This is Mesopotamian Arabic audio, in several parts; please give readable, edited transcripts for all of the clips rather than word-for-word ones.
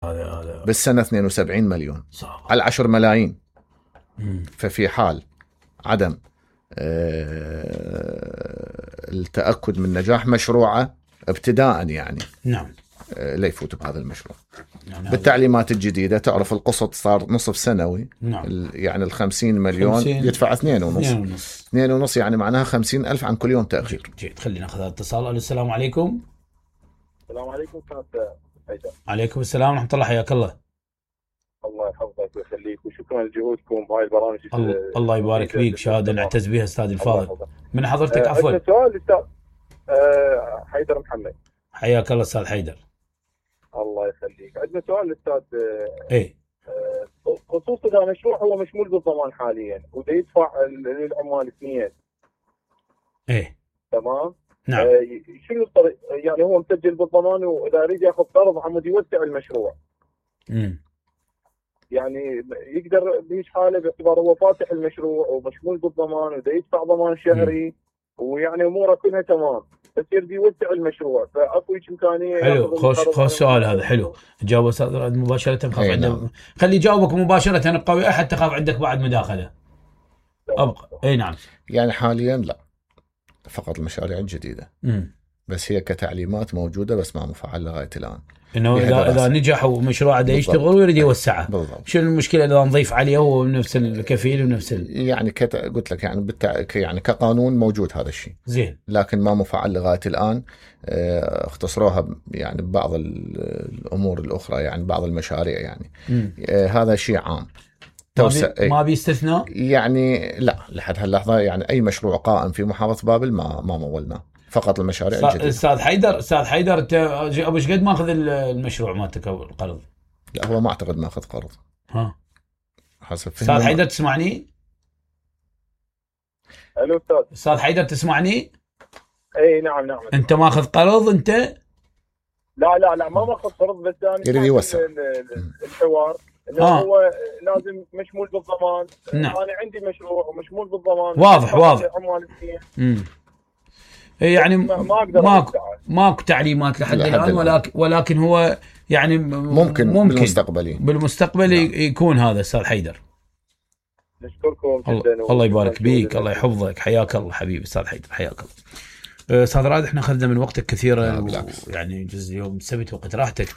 هذا بالسنة 72 مليون صعب. على 10 ملايين. ففي حال عدم التأكد من نجاح مشروعه ابتداء يعني نعم لا يفوت بهذا المشروع. يعني بالتعليمات الجديدة تعرف القسط صار نصف سنوي. نعم. يعني 50 مليون يدفع 2.5 يعني معناها 50,000 عن كل يوم تأخير. جيد. خلينا ناخذ اتصال. السلام عليكم. السلام عليكم استاذ حيدر. عليكم السلام ورحمة الله، حياك الله. الله يحفظك ويخليك وشكرا لجهودكم بهاي البرامج. الله يبارك فيك، شهادة نعتز بها استاذ الفاضل. من حضرتك عفوا؟ سؤال استاذ حيدر محمد. حياك الله استاذ حيدر. الله يخليك. عندنا سؤال استاذ. ايه خصوصا اذا مشروع هو مشمول بالضمان حاليا وده يدفع للعمال سنين. ايه تمام. نعم. شنو الطريق؟ يعني هو مسجل بالضمان واذا يريد ياخذ قرض عمود يوسع المشروع. يعني يقدر بهيج حاله باعتبار هو فاتح المشروع ومشمول بالضمان وده يدفع ضمان شهري ويعني اموره كلها تمام، بس يريد يوسع المشروع، فاكو امكانيه. حلو. خوش السؤال هذا حلو. جاوب استاذ مباشره. خاف عنده خلي يجاوبك مباشره ابقى وياه حتى خاف عندك بعد مداخله. ابقى. اي نعم. يعني حاليا لا، فقط المشاريع الجديده. بس هي كتعليمات موجوده بس ما مفعل لغايه الان. انه اذا نجح ومشروعه ده يشتغل ويريد يوسعه. بالضبط. شنو المشكله اذا نضيف عليه هو نفس الكفيل ونفس يعني قلت لك يعني يعني كقانون موجود هذا الشيء. زين. لكن ما مفعل لغايه الان. اختصروها يعني ببعض الامور الاخرى، يعني بعض المشاريع يعني. هذا شيء عام. ما بيستثنى يعني لا، لحد هاللحظه يعني اي مشروع قائم في محافظه بابل ما مولناه، فقط المشاريع الجديده. استاذ حيدر انت ابو ايش قد ماخذ المشروع مالتك القرض؟ لا هو ما اعتقد ماخذ قرض. حسب فهمي. استاذ حيدر تسمعني؟ الو استاذ حيدر تسمعني؟ اي نعم. انت ماخذ قرض انت؟ لا ما ماخذ قرض، بس انا يريد يوسع الحوار انه هو لازم مشمول بالضمان. نعم. انا عندي مشروع ومشمول بالضمان. واضح. يعني ماكو تعليمات لحد الان، ولكن هو يعني ممكن بالمستقبل يكون هذا. استاذ حيدر نشكركم جدا. الله يبارك بيك، الله يحفظك، حياك الله حبيبي استاذ حيدر، حياك الله. استاذ رائد احنا اخذنا من وقتك كثيرا يعني جزء يوم السبت وقت راحتك.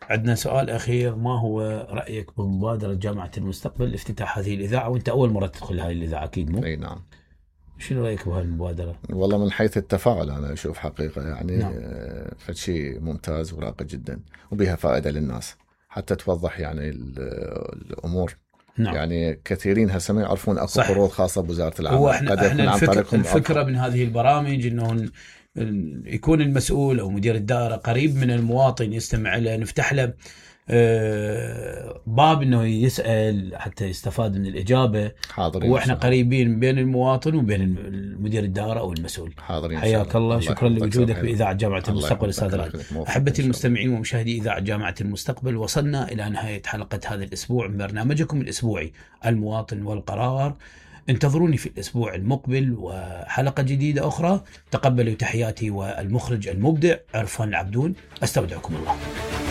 عندنا سؤال اخير، ما هو رايك بمبادره جامعه المستقبل لافتتاح هذه الاذاعه، وانت اول مره تدخل هذه الاذاعه اكيد مو؟ اي نعم. شنو رايك بهالمبادره؟ والله من حيث التفاعل انا اشوف حقيقه يعني نعم. فشيء ممتاز وراقي جدا وبها فائده للناس حتى توضح يعني الامور. نعم. يعني كثيرين هسه ما يعرفون اكو قروض خاصه بوزاره العمل. هو احنا الفكره من هذه البرامج انه يكون المسؤول او مدير الدائره قريب من المواطن، يستمع له، نفتح له باب انه يسال حتى يستفاد من الاجابه. حاضرين. واحنا قريبين بين المواطن وبين مدير الدائره او المسؤول. حاضرين. حياك الله. شكرا لوجودك باذاعه جامعه المستقبل استاذ رائد. احبتي المستمعين ومشاهدي اذاعه جامعه المستقبل، وصلنا الى نهايه حلقه هذا الاسبوع من برنامجكم الاسبوعي المواطن والقرار. انتظروني في الاسبوع المقبل وحلقه جديده اخرى. تقبلوا تحياتي والمخرج المبدع عرفان العبدون. استودعكم الله.